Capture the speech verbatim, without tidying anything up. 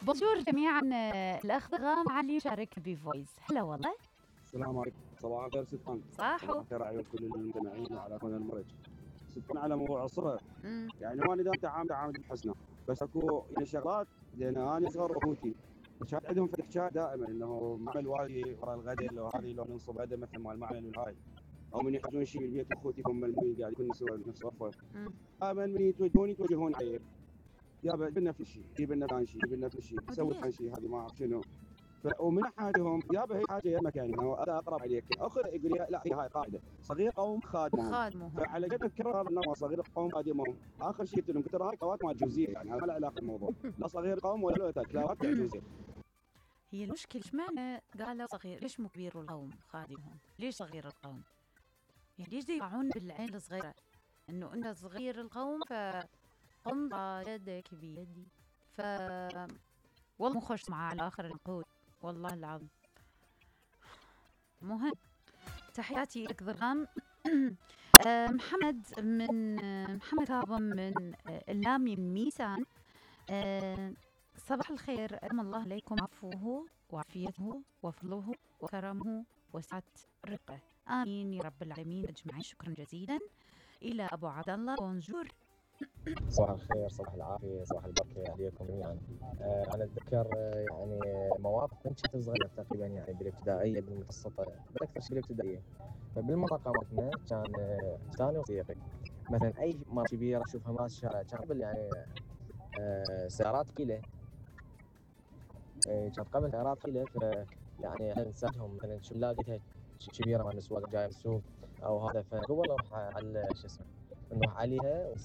بونجور جميعا. الأخ ضغام علي شارك بفويس. هلا والله. السلام عليكم. صباح الخير ستفان. صاحو. صباح الخير على كل المستمعين وعلى كل المرج. ستفان على موضوع الصرة. مم. يعني ما ندام تعامل تعامل بحسنة، بس اكو يعني شغلات لان انا صغر اخوتي كانت عندهم فتح حكايه دائما انه معمل والي ورا الغداء لو هذه لو ننصب غدا مثل مال المعمل والهاي، او من يحتاجون شيء بالبيت اخوتي هم المي قاعد يكون نسوي نفس غرفه. دائما من يتوجهون يتوجهون علي يابا جيب لنا في شيء، جيب لنا ثاني شيء، جيب لنا في شيء، سوي ثاني شيء، هذه ما اعرف شنو. ومن حاجهم يابا هي حاجه يا مكان انا اقرب عليك اخذ يقول لي لا هي هاي قاعده صغير قوم خادمهم خادمهم. فعلى قد تكرر هذا النمط صغير قوم خادمهم اخر شيء قلت لهم قلت هاي كلمات ما جوزيه يعني ما له علاقه بالموضوع لا صغير قوم ولا له كلمات جوزيه. هي المشكله ايش معنى قالوا صغير؟ ليش مو كبير القوم خادمهم؟ ليش صغير القوم؟ يعني ليش يقعون بالعين الصغيره انه انت صغير القوم فقم يدك بيدي ف والله مو خوش معاه على اخر العقود والله العظيم. مهم. تحياتي لك ضرغام. محمد من محمد كاظم من اللامي من ميسان. صباح الخير، أدام الله عليكم عفوه وعافيته وفضله وكرمه وسعة رزقه، آمين يا رب العالمين أجمعين. شكرا جزيلا. إلى أبو عبد الله بونجور. صباح الخير، صباح العافية، صباح البركة عليكم جميعا. آه أنا أتذكر آه يعني مواقف من كنت صغير تقريبا يعني بالابتدائية بالمتوسطة بالأكثر شيء بالابتدائية. فبالمنطقة مالتنا كان آه ثاني وصديقي مثلا أي مرة كبيرة أشوفها ماشية الشارع كان قبل يعني آه سيارات ثقيلة آه كانت قبل سيارات ثقيلة ف يعني احنا نساعدهم مثلا شو نلاقيها كبيرة مال السواق جاية بالسوق أو هذا فقبل نروح على شو اسمه نروح عليها